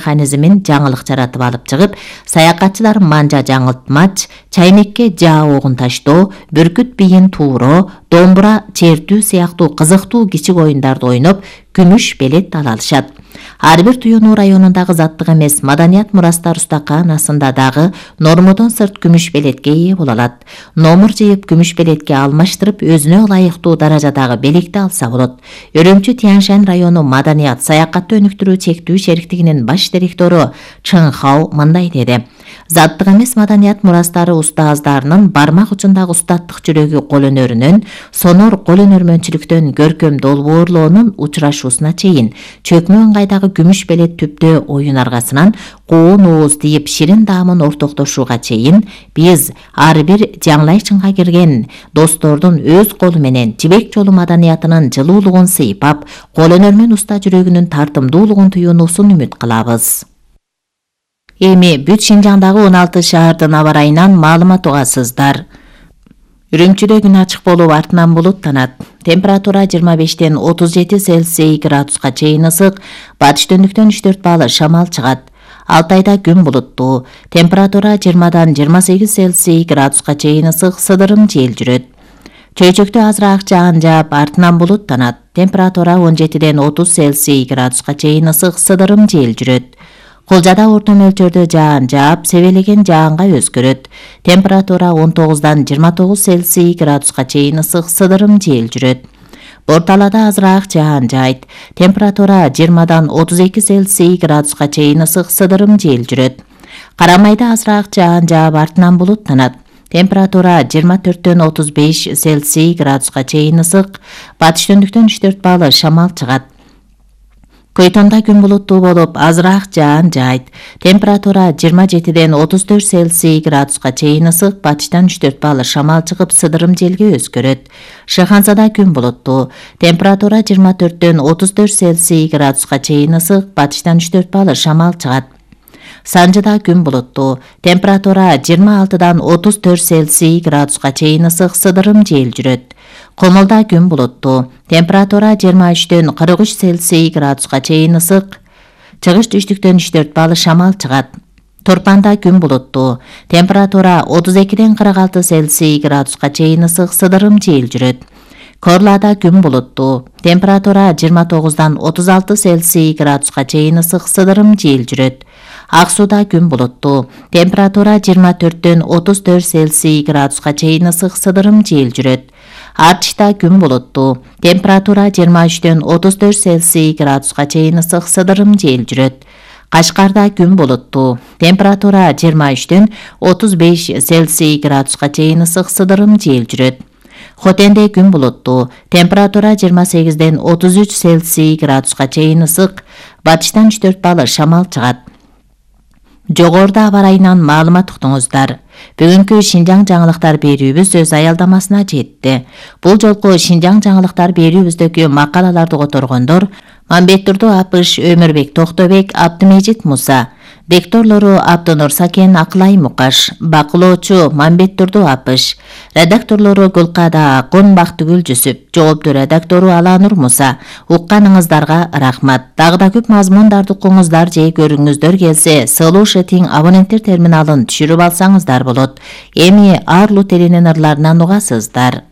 механизмин жаңылык жаратып алып чыгып, саякатчылар манжа жаңылтмач, чаймекке жаа огун таштоо, бүркүт бийин тууроо, домбура чертүү сыяктуу кызыктуу кичик оюндарды ойноп, күмүш белет ала алышат. Ар бир Туюнуу районундагы заттык эмес маданият мурастар устаканасында дагы нормодон сырт күмүш белетке ээ боло алат. Номур жыйып күмүш белетке алмаштырып, өзүнө ылайыктуу даражадагы белекти алса болот. Өрөмчү Тяньшань району маданият саякатты өнүктүрүү чектүү шериктигинин баш директору Чын Хао мындай деди. Заттык эмес маданият мурастары устаздарынын бармак учундагы устаттык жүрөгү кол өнөрүнөн, сонор кол өнөрмөнчүлүктөн көркөм долбоорлоонун учурашуусуна чейин чөкмө ыңгайдагы күмүш белет түптөө оюн аргасынан коон ооз тийип ширин даамын ортоктошууга чейин биз ар бир жаңлайчынга кирген достордун өз колу менен жибек жолу маданиятынын жылуулугун сыйпап, кол өнөр уста жүрөгүнүн тартымдуулугун туюунуусун үмүт кылабыз. Эми бүт Шинжаңдагы 16 шаардын аба ырайынан маалымат угасыздар. Үрүмчүдө күн ачык болуп артынан булуттанат. Температура 25-тен 37 Цельсий градуска чейин ысык, батыш түндүктөн 3-4 балл шамал чыгат. Алтайда күн булуттуу. Температура 20-дан 28 Цельсий градуска чейин ысык, сыдырым жел жүрөт. Чөйчөктө азыраак жаан жаап, артынан булуттанат. Температура 17-ден 30 Цельсий градуска чейин ысык, сыдырым жел жүрөт. Кулжада орто мөлчөрдө жаан жаап, себелеген жаанга өзгөрөт. Температура 19-дан 29 Цельсий градуска чейин ысык, сыдырым жел жүрөт. Борталада азыраак жаан жаайт. Температура 20-дан 32 Цельсий градуска чейин ысык, сыдырым жел жүрөт. Карамайда азыраак жаан жаап, артынан булуттанат. Температура 24-төн 35 Цельсий градуска чейин ысык, батыш түндүктөн 3-4 балл шамал чыгат. Көйтонда күн булуттуу болуп, азыраак жаан жаайт. Температура 27-ден 34 Цельсий градуска чейин ысык, батыштан 3-4 балл шамал чыгып, сыдырым желге өзгөрөт. Шыханзада күн булуттуу. Температура 24-төн 34 Цельсий градуска чейин ысык, батыштан 3-4 балл шамал чыгат. Санжыда күн булуттуу. Температура 26-дан 34 Цельсий градуска чейин ысык, сыдырым жел жүрөт. Комолда күн булуттуу. Температура 23-төн 43 Цельсий градуска чейин ысык, чыгыш түштүктөн 3-4 балл шамал чыгат. Торпанда күн булуттуу. Температура 32-ден 46 Цельсий градуска чейин ысык, сыдырым жел жүрөт. Корлада күн булуттуу. Температура 29-дан 36 Цельсий градуска чейин ысык, сыдырым жел жүрөт. Ак сууда күн булуттуу. Температура 24-төн 34 Цельсий градуска чейин ысык, сыдырым жел жүрөт. Арчта күн булуттуу. Температура 23-төн 34 Цельсий градуска чейин ысык, сыдырым жел жүрөт. Кашкарда күн булуттуу. Температура 23-төн 35 Цельсий градуска чейин ысык, сыдырым жел жүрөт. Хотенде күн булуттуу. Температура 28-ден 33 Цельсий градуска чейин ысык, батыштан 3-4 балл шамал чыгат. Жогоруда аба ырайынан маалымат уктуңуздар. Бүгүнкү Шинжаң жаңылыктар берүүбүз өз аялдамасына жетти. Бул жолку Шинжаң жаңылыктар берүүбүздөгү макалаларды которгондор Мамбеттурду Апыш, Өмүрбек Токтобек, Абдымежит Муса. Дикторлору Абдынур Сакен, Акылай Мукаш. Бакылоочу Мамбеттурду Апыш. Редакторлору Гүлкада Акун, Бактыгүл Жүсүп. Жооптуу редактору Аланур Муса. Укканыңыздарга рахмат. Дагы да көп мазмундарды укуңуздар же көрүңүздөр келсе, Solution абоненттер терминалын түшүрүп алсаңыздар болот. Эми Арлу теленин ырларынан угасыздар.